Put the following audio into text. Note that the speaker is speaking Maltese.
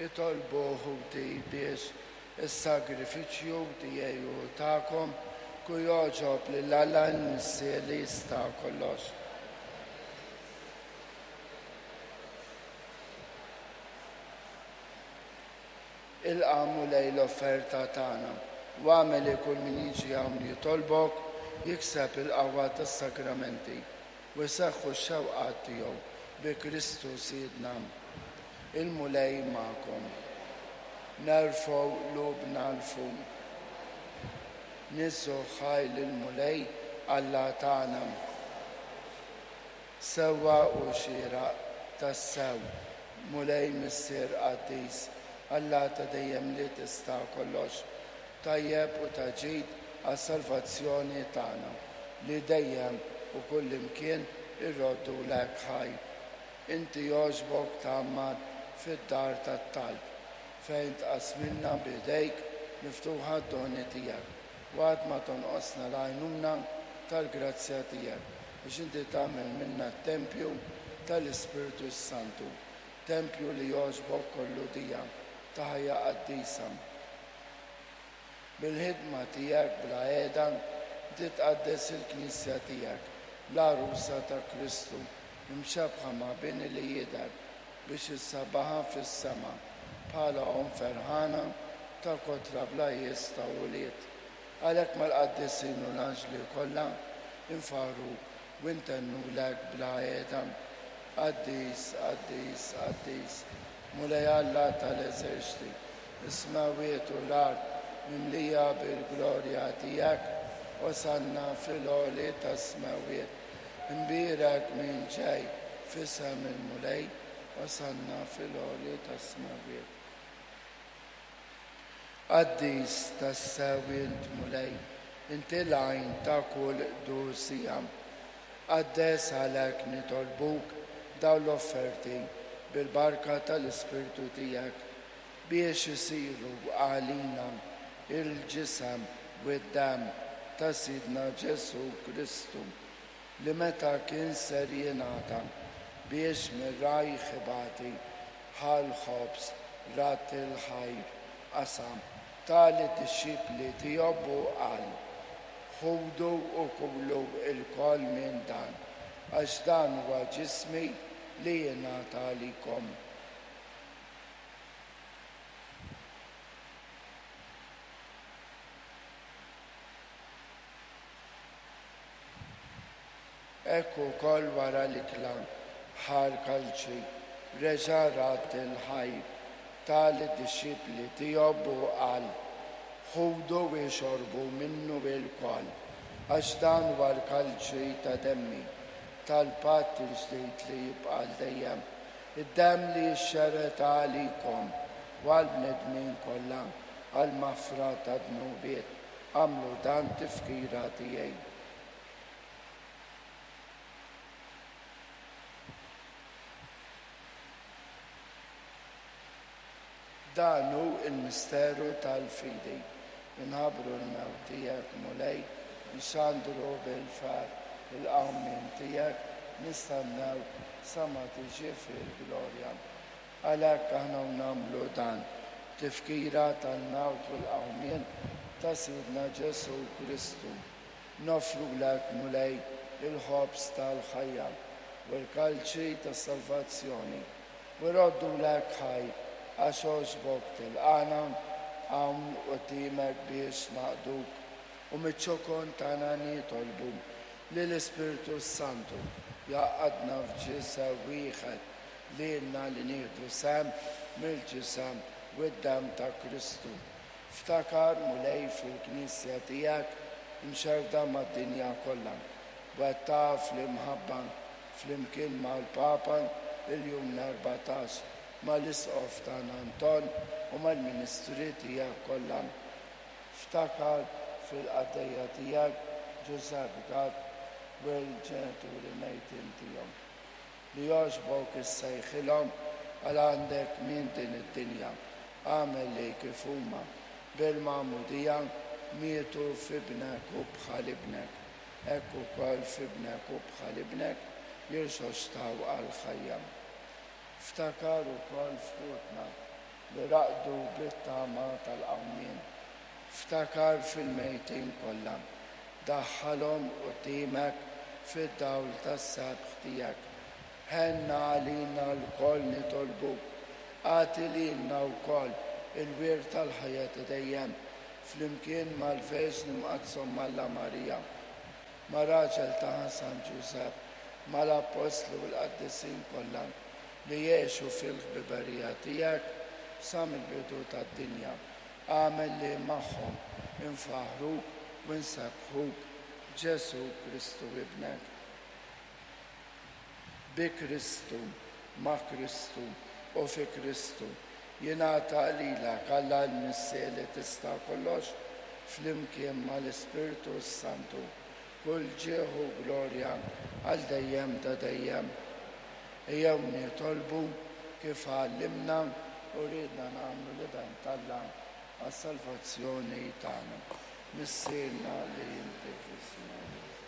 Itolbu ħuti biex is-sagrifiċċju tiegħi u tagħkom ku jogħġob lil Alla l-Missier li jista' kollox. Ilqa' Mulej l-offerta tagħna u agħmel li kull min jiġi hawn jitolbok jikseb il-qawwa tas-sagramenti u jseħħu x-xewqat tiegħu bi Kristu Sidna. Il-Mulej magħkom. Nerfgħu qlubna 'l fuq. Niżżu ħaj lill-Mulej Alla tagħna. Sewwa u xieraq, tassew, Mulej Missier qaddis, Alla ta' dejjem li tista' kollox, tajjeb u ta' ġid għas-salvazzjoni tagħna, li dejjem u kullimkien irroddulek ħajr. Inti jogħġbok tgħammar fid-dar tat-talb, fejn tqassmilna b'idejk miftuħa d-doni tiegħek, u qatt ma tonqosna l-għajnuna tal-grazzja tiegħek, biex inti tagħmel minna t-tempju tal-Ispirtu s-Santu, tempju li jogħġbok kollu dija ta' ħajja qaddisa. Bil-ħidma tiegħek bla heda inti tqaddes il-Knisja tiegħek, l-għarusa ta' Kristu, imxebbħa ma' bini li jidher, biex issabbaħha fis-sema bħala omm ferħana ta' kotra bla qies ta' ulied. Għalhekk mal-qaddisin u l-anġli kollha nfaħħruk u ntennulek bla heda, Qaddis, qaddis, qaddis, Mulej Alla tal-eżerċti, is-smewwiet u l-art mimlija bil-glorja tiegħek, Osanna fil-għoli tas-smewwiet. Imbierek min ġej f'isem il-Mulej, Osanna fil-għoli tas-smewwiet. Qaddis tassew int, Mulej, inti l-għajn ta' kull qdusija. Qaddes għalhekk nitolbuk dawn l-offerti bil-barka tal-Ispirtu tiegħek, biex isiru għalina l-ġisem u d-demm ta' Sidna Ġesù Kristu, li meta kien ser jingħata biex mir-rajh ibati, ħa l-ħobż, radd il-ħajr, qasam, ta lid-dixxipli tiegħu u qal, Ħudu u kulu lkoll minn dan, għax dan huwa ġismi li jingħata għalikom. Hekk ukoll wara l-ikla, ħa l-kalċi, reġa' radd il-ħajr, ta lid-dixxipli tiegħu u qal, Ħudu u ixorbu minnu ilkoll, għax dan huwa l-kalċi ta' demmi, tal-patt il-ġdid li jibqa' għal dejjem, id-demm li jixxerred għalikom u għall-bnedmin kollha għall-maħfra tad-dnubiet. Agħmlu dan tifkira tiegħi. Dan hu l-misteru tal-fidi. Inħabbru l-mewt tiegħek, Mulej, nxandru bil-ferħ il-qawmien tiegħek, nistennewk sa ma tiġi fil-glorja. Għalhekk aħna u nagħmlu dan, b'tifkira tal-mewt u l-qawmien ta' Sidna Ġesù Kristu, noffrulek, Mulej, il-ħobż tal-ħajja u l-kalċi tas-salvazzjoni, u rroddulek ħajr għax għoġbok tilqagħna hawn quddiemek biex naqduk, u miċ-ċokon tagħna nitolbu li l-Ispirtu s-Santu jgħaqqadna f'ġisem wieħed lilna li nieħdu sehem mill-Ġisem u d-Demm ta' Kristu. Ftakar, Mulej, fil-Knisja tiegħek imxerrda mad-dinja kollha. Wettaqha fl-imħabba, flimkien mal-Papa Ljun l-14, mal-Isqof tagħna Anton u mal-ministri tiegħek kollha. Ftakar fil-qaddejja tiegħek Ġużepp Gatt u l-ġenituri mejtin tiegħu. Li jogħġbok issejħilhom għal għandek minn din id-dinja. Agħmel li kif huma, bil-magħmudija, mietu f'Ibnek u bħal Ibnek, hekk ukoll f'Ibnek u bħal Ibnek jirxoxtaw għall-ħajja. Ftakar ukoll f'ħutna. li raqdu bit-tama tal-qawmien. Ftakar fil-mejtin kollha. Daħħalhom quddiemek fid-dawl tas-sebħ tiegħek. Ħenn għalina lkoll nitolbuk. Agħti lilna wkoll il-wirt tal-ħajja ta' dejjem, flimkien mal-Verġni Mqaddsa Omm Alla Marija, ma' raġel tagħha San Ġużepp, mal-Appostli u l-qaddisin kollha li għexu fil-ħbiberija tiegħek sa mill-bidu tad-dinja. Agħmel li magħhom infaħħruk u nsebbħuk b'Ġesù Kristu Ibnek. Bi Kristu, ma' Kristu, u fi Kristu, jingħata lilek, Alla l-Missier li tista' kollox, flimkien mal-Ispirtu s-Santu, kull ġieħ u glorja għal dejjem ta' dejjem. Ejjew nitolbu kif għallimna u riedna nagħmlu l-Iben t'Alla għas-salvazzjoni tagħna. Missierna li inti fis-smewwiet.